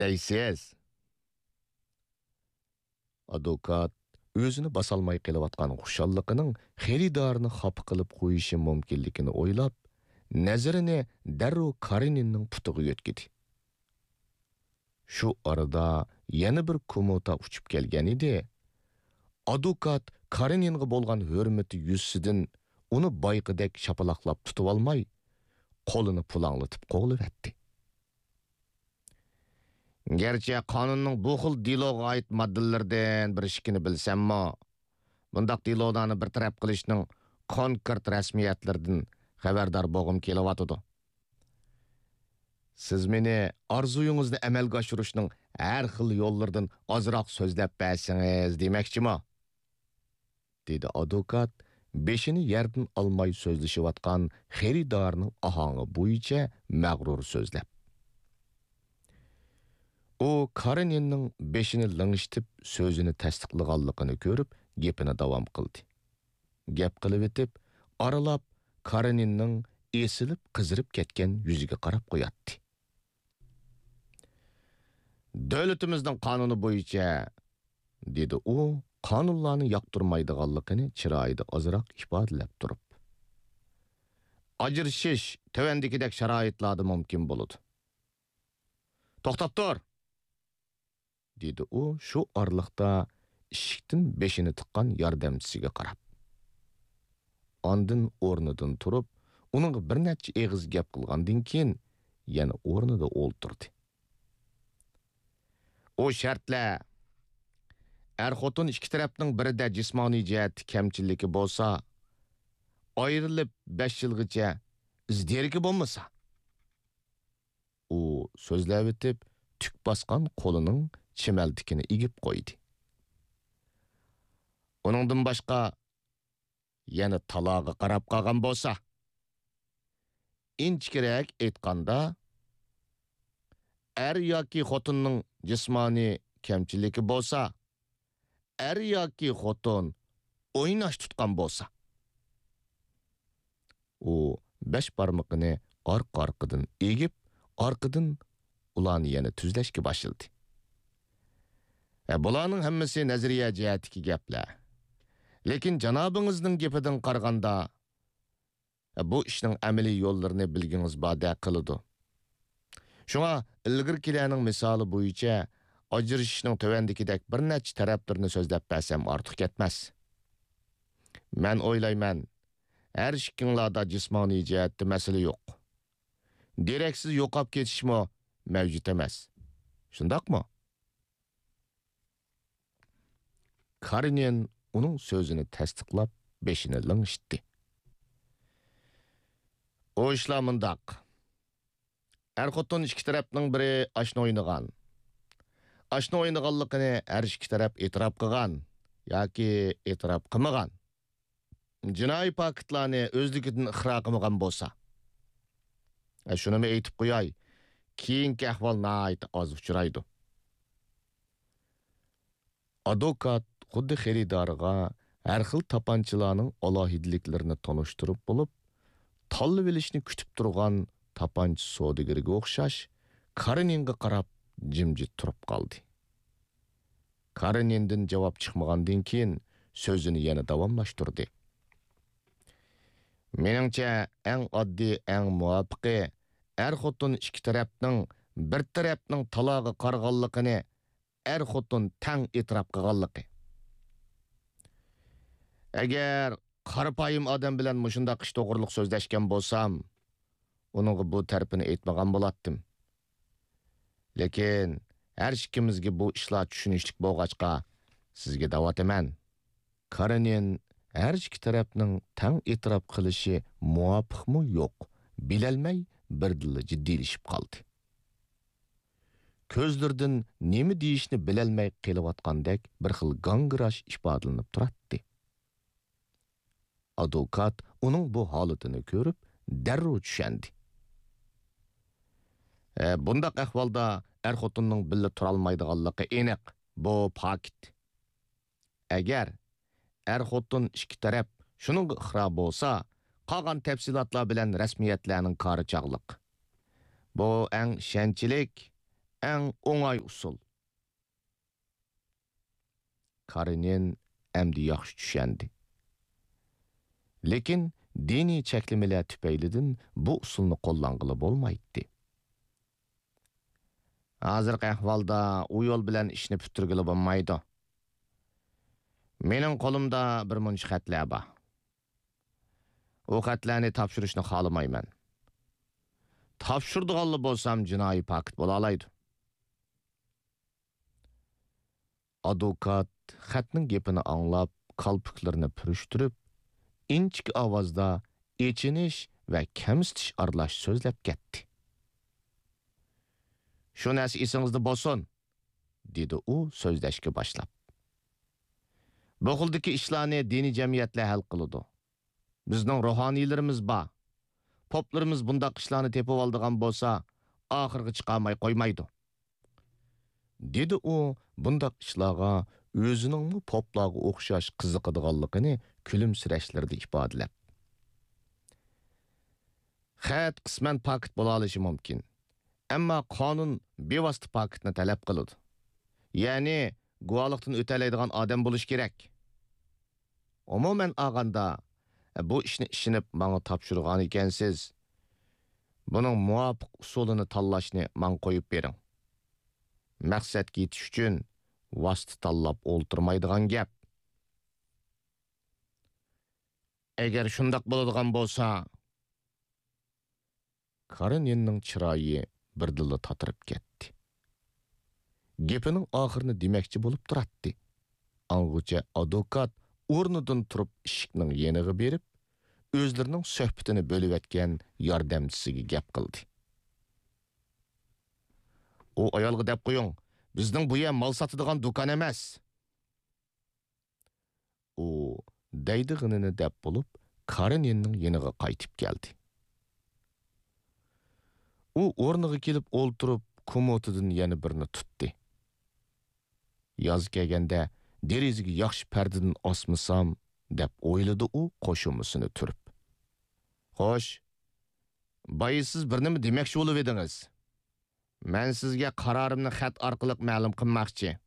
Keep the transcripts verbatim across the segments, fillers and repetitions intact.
دەيسىز؟ ئادۋوكات ئۆزىنى باسالماي قېلىۋاتقان خۇشاللىقىنىڭ خېرىدارنى خاپا قىلىپ قويۇشى مۇمكىنلىكىنى ئويلاپ، نەزىرىنى دەررۇ كارېنىننىڭ پۇتىغا يۆتكىدى. شۇ ئارىدا يەنە بىر كوموتا ئۇچۇپ كەلگەن ئىدى. ئادۋوكات كارېنىنغا بولغان ھۆرمىتى يۈزىسىدىن ئۇنى بايىقىدەك شاپىلاقلاپ تۇتۇۋالماي، قولىنى پۇلاڭلىتىپ قوغلىۋەتتى. گەرچە قانۇننىڭ بۇ خىل دېلوغا ئائىت ماددىلىرىدىن بىر ئىككىنى بىلسەممۇ، بۇنداق دېلولارنى بىر تەرەپ قىلىشنىڭ كونكرېت رەسمىيەتلىرىدىن خەۋەردار بولغۇم كېلىۋاتىدۇ. سىز مېنى ئارزۇيىڭىزنى ئەمەلگە ئاشۇرۇشنىڭ ھەر خىل يوللىرىدىن ئازراق سۆزلەپ بەرسىڭىز دېمەكچىمۇ؟ دېدى ئادۋوكات بېشىنى يەردىن ئالماي سۆزلىشىۋاتقان خېرىدارنىڭ ئاھاڭى بويىچە مەغرۇر سۆزلەپ. ئۇ كارېنىننىڭ بېشىنى لىڭشىتىپ سۆزىنى تەستىقلىغانلىقىنى كۆرۈپ گېپىنى داۋام قىلدى. گەپ قىلىۋېتىپ، ئارىلاپ كارېنىننىڭ ئېسىلىپ قىزىرىپ كەتكەن يۈزىگە قاراپ قوياتتى. دۆلىتىمىزنىڭ قانۇنى بويىچە، دېدى ئۇ قانۇنلارنى ياقتۇرمايدىغانلىقىنى چىرايىدا ئازراق ئىپادىلەپ تۇرۇپ. ئاجرىشىش تۆۋەندىكىدەك شارائىتلاردا مۇمكىن بولىدۇ. توختاپ تۇر! دېدى ئۇ شۇ ئارىلىقتا ئىشىكتىن بېشىنى تىققان ياردەمچىسىگە قاراپ. ئاندىن ئورنىدىن تۇرۇپ، ئۇنىڭغا بىر نەچچە ئېغىز گەپ قىلغاندىن كېيىن، يەنە ئورنىدا ئولتۇردى. ئۇ شەرتلەر، ئەر-خوتۇن ئىككى تەرەپنىڭ بىرىدە جىسمانىي جەھەتتە كەمچىلىكى بولسا، ئايرىلىپ بەش يىلغىچە ئىز دېرىكى بولمىسا. ئۇ سۆزلەۋېتىپ، تۈك باسقان قولىنىڭ چىمەلتىكىنى ئېگىپ قويدى. ئۇنىڭدىن باشقا، يەنە تالاغا قاراپ قالغان بولسا، ئىنچىكىرەك ئېيتقاندا، ئەر ياكى خوتۇننىڭ جىسمانىي كەمچىلىكى بولسا، ئەر ياكى خوتۇن ئويناش تۇتقان بولسا. ئۇ بەش بارمىقىنى ئارقا-ئارقىدىن ئېگىپ، ئارقىدىن ئۇلارنى يەنە تۈزلەشكە باشلىدى. ھە، بۇلارنىڭ ھەممىسى نەزەرىيە جەھەتتىكى گەپلەر. لېكىن جانابىڭىزنىڭ گېپىدىن قارىغاندا، بۇ ئىشنىڭ ئەمەلىي يوللىرىنى بىلگىڭىز باردەك قىلىدۇ. شۇڭا ئىلگىرىكىلەرنىڭ مىسالى بويىچە ئاجرىشىشنىڭ تۆۋەندىكىدەك بىر نەچچە تەرەپلىرىنى سۆزلەپ بەرسەم ئارتۇق كەتمەس. مەن ئويلايمەن، ھەر ئىككىڭلاردا جىسمانىي جەھەتتە مەسىلە يوق. دېرەكسىز يوقاپ كېتىشمۇ مەۋجۇت ئەمەس. شۇنداقمۇ؟ كارېنىن ئۇنىڭ سۆزىنى تەستىقلاپ، بېشىنى لىڭشىتتى. ئۇ ئىشلار مۇنداق. ئەر-خوتۇن ئىككى تەرەپنىڭ بىرى ئاشنا ئوينىغان. ئاشنا ئوينىغانلىقىنى ھەر ئىككى تەرەپ ئېتىراپ قىلغان ياكى ئېتىراپ قىلمىغان. جىنايى پاكىتلارنى ئۆزلۈكىدىن ئىقرار قىلمىغان بولسا. ھە، شۇنىمۇ ئېيتىپ قوياي، كېيىنكى ئەھۋال ناھايىتى ئاز ئۇچرايدۇ. ئادۋوكات خۇددى خېرىدارىغا ھەر خىل تاپانچىلارنىڭ ئالاھىدىلىكلىرىنى تونۇشتۇرۇپ بولۇپ، تاللىۋېلىشنى كۈتۈپ تۇرغان تاپانچا سودىگىرىگە ئوخشاش، كارېنىنغا قاراپ جىمجىت تۇرۇپ قالدى. كارېنىندىن جاۋاب چىقمىغاندىن كېيىن، سۆزىنى يەنە داۋاملاشتۇردى. مېنىڭچە، ئەڭ ئاددىي، ئەڭ مۇۋاپىقى، ئەر-خوتۇن ئىككى تەرەپنىڭ بىر تەرەپنىڭ تالاغا قارىغانلىقىنى ئەر-خوتۇن تەڭ ئېتىراپ قىلغانلىقى. ئەگەر قارىپايىم ئادەم بىلەن مۇشۇنداق ئىش توغرىلىق سۆزلەشكەن بولسام، ئۇنىڭغا بۇ تەرىپىنى ئېيتمىغان بولاتتىم. لېكىن ھەر ئىككىمىزگە بۇ ئىشلار چۈشىنىشلىك بولغاچقا، سىزگە دەۋاتىمەن. كارېنىن ھەر ئىككى تەرەپنىڭ تەڭ ئېتىراپ قىلىشى مۇۋاپىقمۇ يوق، بىلەلمەي بىردىنلا جىددىيلىشىپ قالدى. كۆزلىرىدىن نېمە دېيىشنى بىلەلمەي قېلىۋاتقاندەك بىر خىل گاڭگىراش ئىپادىلىنىپ تۇراتتى. ئادۋوكات ئۇنىڭ بۇ ھالىتىنى كۆرۈپ، دەررۇ چۈشەندى. ئە، بۇنداق ئەھۋالدا ئەر-خوتۇننىڭ بىللە تۇرالمايدىغانلىقى ئېنىق، بۇ پاكىت. ئەگەر ئەر-خوتۇن ئىككى تەرەپ شۇنىڭغا ئىقرار بولسا، قالغان تەپسىلاتلار بىلەن رەسمىيەتلەرنىڭ كارى چاغلىق. بۇ ئەڭ ئىشەنچلىك، ئەڭ ئوڭاي ئۇسۇل. كارېنىن ئەمدى ياخشى چۈشەندى. لېكىن دىنىي چەكلىمىلەر تۈپەيلىدىن بۇ ئۇسۇلنى قوللانغىلى بولمايتتى. ھازىرقى ئەھۋالدا ئۇ يول بىلەن ئىشنى پۈتتۈرگىلى بولمايدۇ. مېنىڭ قولۇمدا بىر مۇنچە خەتلەر بار. ئۇ خەتلەرنى تاپشۇرۇشنى خالىمايمەن. تاپشۇرىدىغانلا بولسام جىنايى پاكىت بولالايدۇ. ئادۋوكات خەتنىڭ گېپىنى ئاڭلاپ، كالپۇكلىرىنى پۈرۈشتۈرۈپ، ئىنچىكە ئاۋازدا ئېچىنىش ۋە كەمسىتىش ئارىلاش سۆزلەپ كەتتى. شۇ نەرسە ئېسىڭىزدە بولسۇن، دېدى ئۇ سۆزلەشكە باشلاپ. بۇ خىلدىكى ئىشلارنى دىنىي جەمئىيەتلەر ھەل قىلىدۇ. بىزنىڭ روھانىيلىرىمىز بار. پوپلىرىمىز بۇنداق ئىشلارنى تېپىۋالىدىغان بولسا، ئاخىرغا چىقارماي قويمايدۇ. دېدى ئۇ بۇنداق ئىشلارغا ئۆزىنىڭمۇ پوپلارغا ئوخشاش قىزىقىدىغانلىقىنى كۈلۈمسىرەشلىرىدە ئىپادىلەپ. خەت قىسمەن پاكىت بولالىشى مۇمكىن. ئەمما قانۇن بىۋاسىتە پاكىتنى تەلەپ قىلىدۇ. يەنى گۇۋاھلىقتىن ئۆتەلەيدىغان ئادەم بولۇشى كېرەك. ئومۇمەن ئالغاندا، بۇ ئىشنى ئىشىنىپ ماڭا تاپشۇرغان ئىكەنسىز. بۇنىڭ مۇۋاپىق ئۇسۇلىنى تاللاشنى ماڭا قويۇپ بېرىڭ. مەقسەتكە يېتىش ئۈچۈن ۋاسىتە تاللاپ ئولتۇرمايدىغان گەپ. ئەگەر شۇنداق بولىدىغان بولسا، كارېنىننىڭ چىرايى بىردىنلا تاتىرىپ كەتتى. گېپىنىڭ ئاخىرىنى دېمەكچى بولۇپ تۇراتتى. ئاڭغىچە ئادۋوكات ئورنىدىن تۇرۇپ ئىشىكنىڭ يېنىغا بېرىپ، ئۆزلىرىنىڭ سۆھبىتىنى بۆلۈۋەتكەن ياردەمچىسىگە گەپ قىلدى. ئۇ ئايالغا دەپ قويۇڭ، بىزنىڭ بۇ يەر مال ساتىدىغان دۇكان ئەمەس. ئۇ دەيدىغىنىنى دەپ بولۇپ، كارېنىننىڭ يېنىغا قايتىپ كەلدى. ئۇ ئورنىغا كېلىپ ئولتۇرۇپ، كوموتىدىن يەنە بىرنى تۇتتى. ياز كەلگەندە دېرىزىگە ياخشى پەردىدىن ئاسمىسام، دەپ ئويلىدى ئۇ قوشۇمىسىنى تۈرۈپ. خوش، بايا سىز بىر نېمە دېمەكچى بولۇۋىدىڭىز. مەن سىزگە قارارىمنى خەت ئارقىلىق مەلۇم قىلماقچى.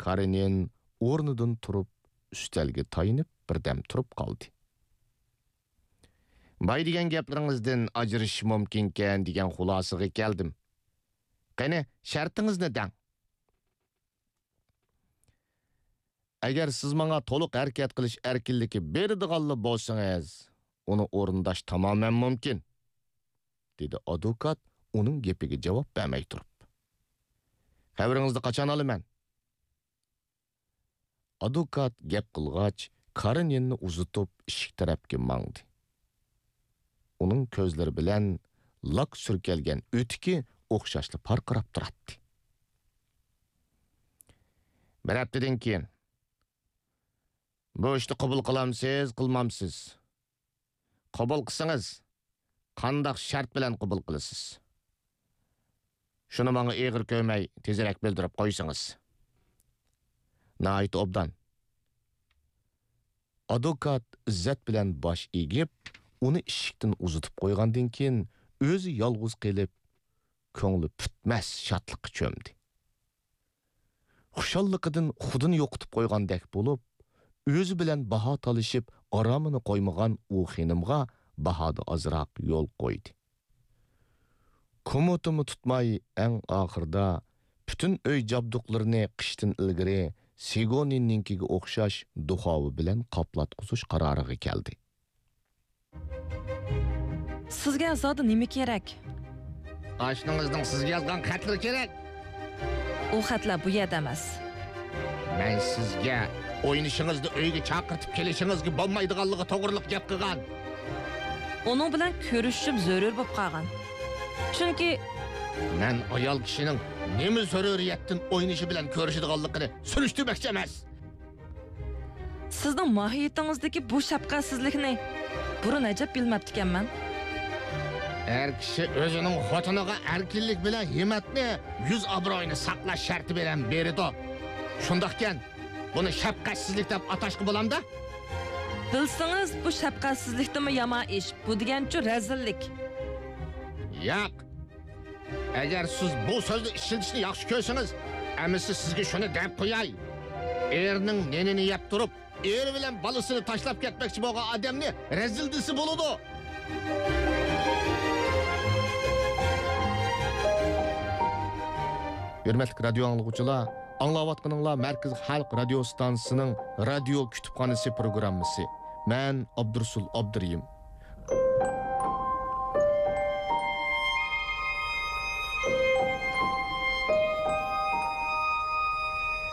كارېنىن ئورنىدىن تۇرۇپ، ئۈستەلگە تايىنىپ بىردەم تۇرۇپ قالدى. باي دېگەن گەپلىرىڭىزدىن ئاجرىشىش مۇمكىنكەن دېگەن خۇلاسىغا كەلدىم. قېنى، شەرتىڭىزنى دەڭ. ئەگەر سىز ماڭا تولۇق ھەرىكەت قىلىش ئەركىنلىكى بېرىدىغانلا بولسىڭىز، ئۇنى ئورۇنداش تامامەن مۇمكىن، دېدى ئادۋوكات ئۇنىڭ گېپىگە جاۋاب بەرمەي تۇرۇپ. خەۋىرىڭىزنى قاچان ئالىمەن؟ ئادۋوكات گەپ قىلغاچ، كارېنىننى ئۇزىتىپ ئىشىك تەرەپكە ماڭدى. ئۇنىڭ كۆزلىرى بىلەن لاك سۈركەلگەن ئۆتۈكى ئوخشاشلا پارقىراپ تۇراتتى. بىر ھەپتىدىن كېيىن. بۇ ئىشنى قوبۇل قىلامسىز، قىلمامسىز؟ قوبۇل قىلسىڭىز، قانداق شەرت بىلەن قوبۇل قىلىسىز؟ شۇنى ماڭا ئېغىر كۆرمەي، تېزرەك بىلدۈرۈپ قويسىڭىز. ناھايىتى ئوبدان. ئادۋوكات ئىززەت بىلەن باش ئېگىپ، ئۇنى ئىشىكتىن ئۇزىتىپ قويغاندىن كېيىن، ئۆزى يالغۇز قېلىپ، كۆڭلى پۈتمەس شادلىققا چۆمدى. خۇشاللىقىدىن خۇدىنى يوقىتىپ قويغاندەك بولۇپ، ئۆزى بىلەن باھا تالىشىپ، ئارامىنى قويمىغان ئۇ خېنىمغا باھادا ئازراق يول قويدى. كوموتىمۇ تۇتماي، ئەڭ ئاخىرىدا پۈتۈن ئۆي جابدۇقلىرىنى قىشتىن ئىلگىرى سىگونىننىڭكىگە ئوخشاش دۇخاۋا بىلەن قاپلاتقۇزۇش قارارىغا كەلدى. سىزگە زادى نېمە كېرەك؟ ئاشنىڭىزنىڭ سىزگە يازغان خەتلىرى كېرەك. ئۇ خەتلەر بۇ يەردە ئەمەس. مەن سىزگە ئوينىشىڭىزنى ئۆيگە چاقىرتىپ كېلىشىڭىزگە بولمايدىغانلىقى توغرىلىق گەپ قىلغان. ئۇنىڭ بىلەن كۆرۈشۈشۈم زۆرۈر بولۇپ قالغان. چۈنكى مەن ئايال كىشىنىڭ نېمە زۆرۈرىيەتتىن ئوينىشى بىلەن كۆرۈشىدىغانلىقىنى سۈرۈشتۈرمەكچى ئەمەس. سىزنىڭ ماھىيىتىڭىزدىكى بۇ شەپقەتسىزلىكنى بۇرۇن ئەجەب بىلمەپتىكەنمەن. ئەر كىشى ئۆزىنىڭ خوتۇنىغا ئەركىنلىك بىلەن ھىممەتنى، يۈز ئابرۇيىنى ساقلاش شەرتى بىلەن بېرىدۇ. شۇنداقكەن، بۇنى شەپقەتسىزلىك دەپ ئاتاشقا بولامدا؟ بىلسىڭىز، بۇ شەپقەتسىزلىكتىنمۇ يامان ئىش. بۇ دېگەنچۇ رەزىللىك. ياق. ئەگەر سىز بۇ سۆزنى ئىشلىتىشنى ياخشى كۆرسىڭىز، ئەمىسە سىزگە شۇنى دەپ قوياي. ئېرىنىڭ نېنىنى يەپ تۇرۇپ، ئېرى بىلەن بالىسىنى تاشلاپ كەتمەكچى بولغان ئادەمنى رەزىل دېسە بولىدۇ. ھۆرمەتلىك رادىيو ئاڭلىغۇچىلار، ئاڭلاۋاتقىنىڭلار مەركىزىي خەلق رادىيو ستانسىسىنىڭ رادىيو كۇتۇپخانىسى پروگراممىسى. مەن ئابدۇرۇسۇل ئابدۇرېھىم.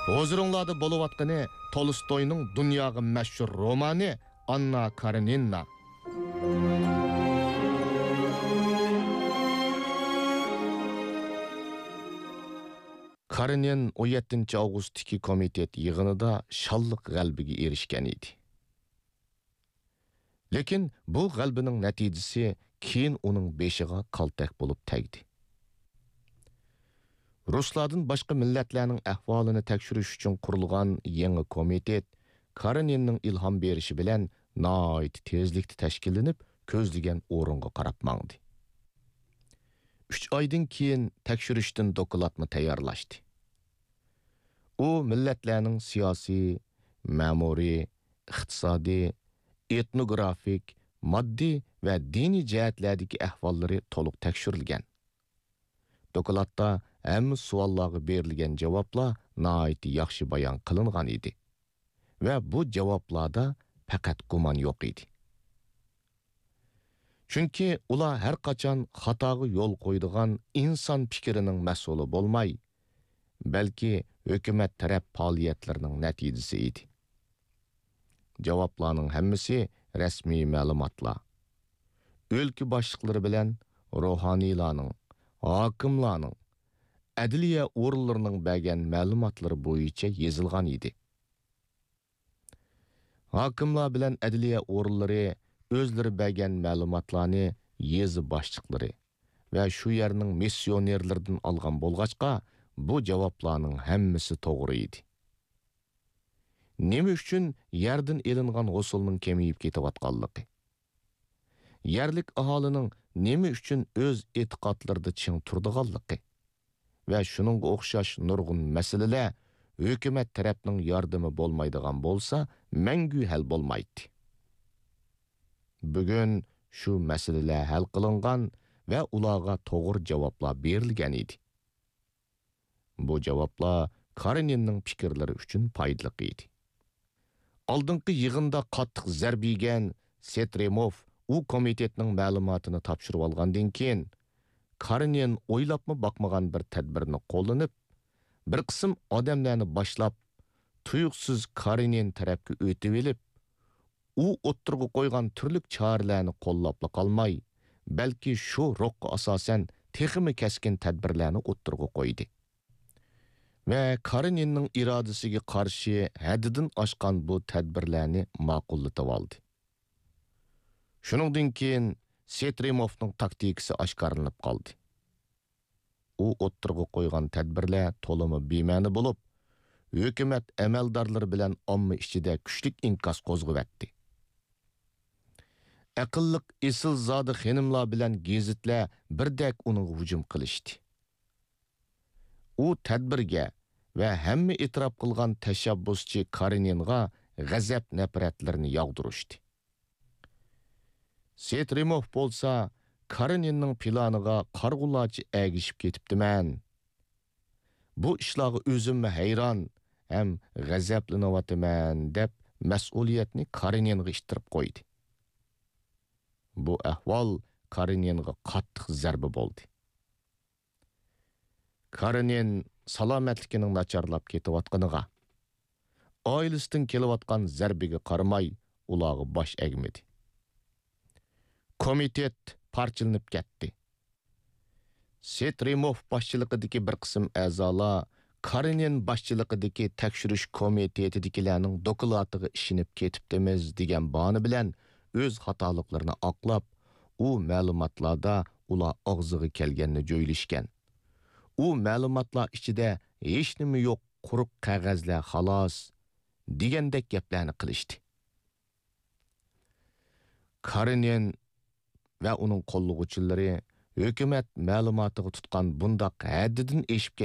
ھۇزۇرۇڭلاردا بولۇۋاتقىنى تولستوينىڭ دۇنياغا مەشھۇر رومانى ئاننا كارېنىنا. كارېنىن ئون يەتتىنچى ئاۋغۇستتىكى كومىتېت يىغىنىدا شانلىق غەلىبىگە ئېرىشكەن ئىدى. لېكىن بۇ غەلىبىنىڭ نەتىجىسى كېيىن ئۇنىڭ بېشىغا كالتەك بولۇپ تەگدى. رۇسلاردىن باشقا مىللەتلەرنىڭ ئەھۋالىنى تەكشۈرۈش ئۈچۈن قۇرۇلغان يېڭى كومىتېت كارېنىننىڭ ئىلھام بېرىشى بىلەن ناھايىتى تېزلىكتە تەشكىللىنىپ، كۆزلىگەن ئورۇنغا قاراپ ماڭدى. ئۈچ ئايدىن كېيىن تەكشۈرۈشتىن دوكلاتمۇ تەييارلاشتى. ئۇ مىللەتلەرنىڭ سىياسىي، مەمۇرىي، ئىقتىسادىي، ئېتنوگرافىك، ماددىي ۋە دىنىي جەھەتلەردىكى ئەھۋاللىرى تولۇق تەكشۈرۈلگەن. دوكلاتتا ھەممە سوئاللارغا بېرىلگەن جاۋابلار ناھايىتى ياخشى بايان قىلىنغان ئىدى ۋە بۇ جاۋابلاردا پەقەت گۇمان يوق ئىدى. چۈنكى ئۇلار ھەر قاچان خاتاغا يول قويىدىغان ئىنسان پىكرىنىڭ مەھسۇلى بولماي، بەلكى ھۆكۈمەت تەرەپ پائالىيەتلىرىنىڭ نەتىجىسى ئىدى. جاۋابلارنىڭ ھەممىسى رەسمىي مەلۇماتلار. ئۆلكە باشلىقلىرى بىلەن روھانىيلارنىڭ، ھاكىملارنىڭ، ئەدلىيە ئورۇنلىرىنىڭ بەرگەن مەلۇماتلىرى بويىچە يېزىلغان ئىدى. ھاكىملار بىلەن ئەدلىيە ئورۇنلىرى ئۆزلىرى بەرگەن مەلۇماتلارنى يېزا باشلىقلىرى ۋە شۇ يەرنىڭ مىسسىيونېرلىرىدىن ئالغان بولغاچقا، بۇ جاۋابلارنىڭ ھەممىسى توغرا ئىدى. نېمە ئۈچۈن يەردىن ئېلىنغان ھوسۇلنىڭ كېمىيىپ كېتىۋاتقانلىقى، يەرلىك ئاھالىنىڭ نېمە ئۈچۈن ئۆز ئېتىقادلىرىدا چىڭ تۇرىدىغانلىقى ۋە شۇنىڭغا ئوخشاش نۇرغۇن مەسىلىلەر ھۆكۈمەت تەرەپنىڭ ياردىمى بولمايدىغان بولسا، مەڭگۈ ھەل بولمايتتى. بۈگۈن شۇ مەسىلىلەر ھەل قىلىنغان ۋە ئۇلارغا توغرا جاۋابلار بېرىلگەن ئىدى. بۇ جاۋابلار كارېنىننىڭ پىكىرلىرى ئۈچۈن پايدىلىق ئىدى. ئالدىنقى يىغىندا قاتتىق زەربە يېگەن سېترېموف ئۇ كومىتېتنىڭ مەلۇماتىنى تاپشۇرۇۋالغاندىن كېيىن، كارېنىن ئويلاپمۇ باقمىغان بىر تەدبىرنى قوللىنىپ، بىر قىسىم ئادەملەرنى باشلاپ، تۇيۇقسىز كارېنىن تەرەپكە ئۆتۈۋېلىپ، ئۇ ئوتتۇرىغا قويغان تۈرلۈك چارىلەرنى قوللاپلا قالماي، بەلكى شۇ روھقا ئاساسەن تېخىمۇ كەسكىن تەدبىرلەرنى ئوتتۇرىغا قويدى. ۋە كارېنىننىڭ ئىرادىسىگە قارشى ھەددىدىن ئاشقان بۇ تەدبىرلەرنى ماقۇللىتىۋالدى. شۇنىڭدىن كېيىن سېترېموفنىڭ تاكتىكىسى ئاشكارىلىنىپ قالدى. ئۇ ئوتتۇرىغا قويغان تەدبىرلەر تولىمۇ بىمەنە بولۇپ، ھۆكۈمەت ئەمەلدارلىرى بىلەن ئامما ئىچىدە كۈچلۈك ئىنكاس قوزغىۋەتتى. ئەقىللىق ئېسىلزادە خېنىملار بىلەن گېزىتلەر بىردەك ئۇنىڭغا ھۇجۇم قىلىشتى. ئۇ تەدبىرگە ۋە ھەممە ئېتىراپ قىلغان تەشەببۇسچى كارېنىنغا غەزەپ-نەپرەتلىرىنى ياغدۇرۇشتى. سېترېموف بولسا كارېنىننىڭ پىلانىغا قارىغۇلارچە ئەگىشىپ كېتىپتىمەن. بۇ ئىشلارغا ئۆزۈممۇ ھەيران ھەم غەزەپلىنىۋاتىمەن، دەپ مەسئۇلىيەتنى كارېنىنغا ئىتتىرىپ قويدى. بۇ ئەھۋال كارېنىنغا قاتتىق زەربە بولدى. كارېنىن سالامەتلىكىنىڭ ناچارلاپ كېتىۋاتقىنىغا، ئائىلىسىدىن كېلىۋاتقان زەربىگە قارىماي، ئۇلارغا باش ئەگمىدى. كومىتېت پارچىلىنىپ كەتتى. سېترېموف باشچىلىقىدىكى بىر قىسىم ئەزالار كارېنىن باشچىلىقىدىكى تەكشۈرۈش كومىتېتىدىكىلەرنىڭ دوكلاتىغا ئىشىنىپ كېتىپتىمىز دېگەن باھانە بىلەن ئۆز خاتالىقلىرىنى ئاقلاپ، ئۇ مەلۇماتلاردا ئۇلار ئاغزىغا كەلگەننى جۆيلۈشكەن. ئۇ مەلۇماتلار ئىچىدە ھېچنېمە يوق، قۇرۇق قەغەزلەر خالاس، دېگەندەك گەپلەرنى قىلىشتى. كارېنىن ۋە ئۇنىڭ قوللىغۇچىلىرى ھۆكۈمەت مەلۇماتىغا تۇتقان بۇنداق ھەددىدىن ئېشىپ